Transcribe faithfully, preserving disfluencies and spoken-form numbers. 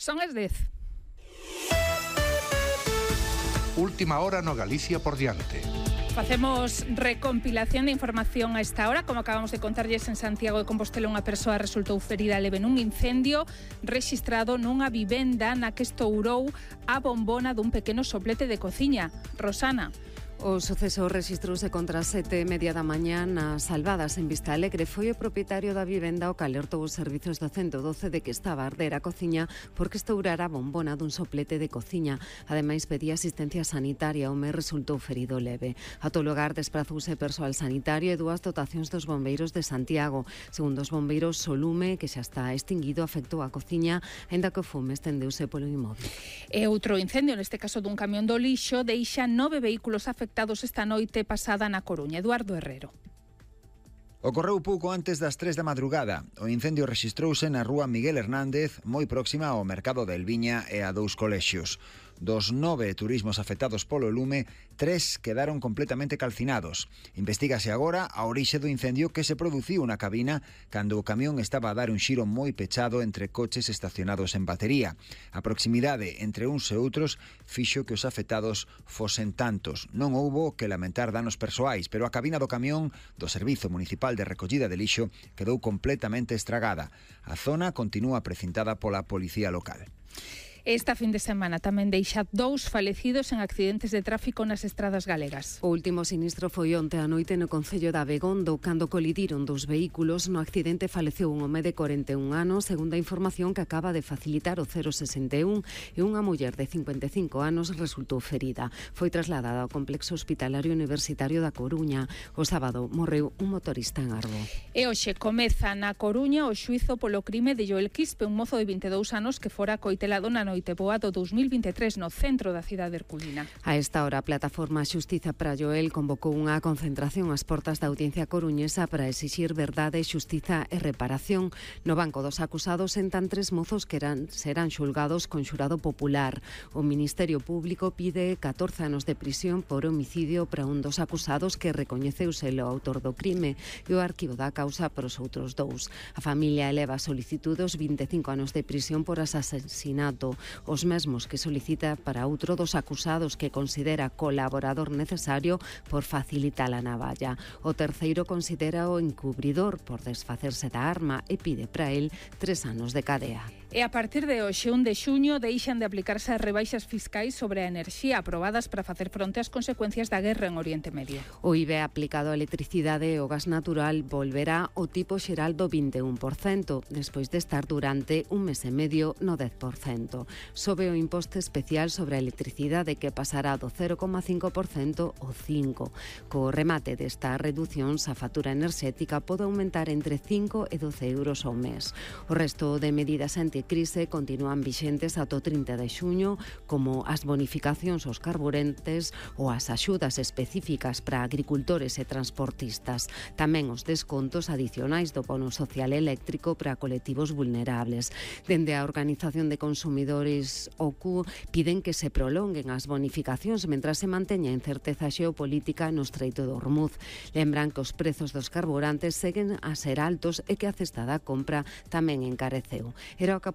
Son as dez. Última hora no Galicia por diante. Facemos recompilación de información a esta hora. Como acabamos de contarlles, en Santiago de Compostela unha persoa resultou ferida leve nun incendio rexistrado nunha vivenda na que estourou a bombona dun pequeno soplete de cociña. Rosana. O suceso rexistrouse contra as sete e media da mañá nas Salvadas, en Vista Alegre. Foi o propietario da vivenda o que alertou os servizos do ciento doce de que estaba a arder a cociña porque estourara a bombona dun soplete de cociña. Ademais, pedía asistencia sanitaria. O home resultou ferido leve. A todo lugar desprazouse persoal sanitario e dúas dotacións dos bombeiros de Santiago. Segundo os bombeiros, o lume, que xa está extinguido, afectou a cociña, aínda que o fume estendeuse polo inmóbil. E outro incendio, neste caso dun camión do lixo, deixa nove vehículos afectados esta noite pasada na Coruña. Eduardo Herrero. Ocorreu pouco antes das tres da madrugada. O incendio rexistrouse na rúa Miguel Hernández, moi próxima ao mercado de Elviña e a dous colexios. Dos nove turismos afectados polo lume, tres quedaron completamente calcinados. Investígase agora a orixe do incendio que se produciu na cabina cando o camión estaba a dar un xiro moi pechado entre coches estacionados en batería. A proximidade entre uns e outros fixo que os afectados fosen tantos. Non houbo que lamentar danos persoais, pero a cabina do camión do Servizo Municipal de Recollida de Lixo quedou completamente estragada. A zona continúa precintada pola policía local. Esta fin de semana tamén deixa dous falecidos en accidentes de tráfico nas estradas galegas. O último sinistro foi onte a noite no concello de Abegondo, cando colidiron dos vehículos. No accidente faleceu un home de corenta e un anos, segundo a información que acaba de facilitar o cero sesenta e un, e unha muller de cincuenta e cinco anos resultou ferida. Foi trasladada ao complexo hospitalario universitario da Coruña. O sábado morreu un motorista en Arbo. E hoxe comeza na Coruña o xuízo polo crime de Joel Quispe, un mozo de vinte e dous anos que fora coitelado na noite boa do dous mil vinte e tres no centro da cidade herculina. A esta hora, a plataforma Xustiza para Joel convocou unha concentración ás portas da audiencia coruñesa para exixir verdade, xustiza e reparación. No banco dos acusados sentan tres mozos que eran, serán xulgados con xurado popular. O Ministerio Público pide catorce anos de prisión por homicidio para un dos acusados que recoñeceuse o autor do crime e o arquivo da causa para os outros dous. A familia eleva solicitudos vinte e cinco anos de prisión por asasinato, os mesmos que solicita para outro dos acusados que considera colaborador necesario por facilitar a navalla. O terceiro considera o encubridor por desfacerse da arma e pide para él tres anos de cadea. E a partir de hoxe, un de xuño, deixan de aplicarse as rebaixas fiscais sobre a enerxía aprobadas para facer fronte ás consecuencias da guerra en Oriente Medio. O I V A aplicado á electricidade e o gas natural volverá ao tipo xeral do vinte e un por cento, despois de estar durante un mes e medio no dez por cento. Sobe o imposto especial sobre a electricidade, que pasará do cero coma cinco por cento ao cinco por cento. Co remate desta reducción, a factura enerxética pode aumentar entre cinco e doce euros ao mes. O resto de medidas anticrise continúan vixentes ata o trinta de xuño, como as bonificacións aos carburantes ou as axudas específicas para agricultores e transportistas. Tamén os descontos adicionais do bono social eléctrico para colectivos vulnerables. Dende a Organización de Consumidores O C U piden que se prolonguen as bonificacións mentras se manteña a incerteza xeopolítica no Estreito de Hormuz. Lembran que os prezos dos carburantes seguen a ser altos e que a cesta da compra tamén encareceu. Era o que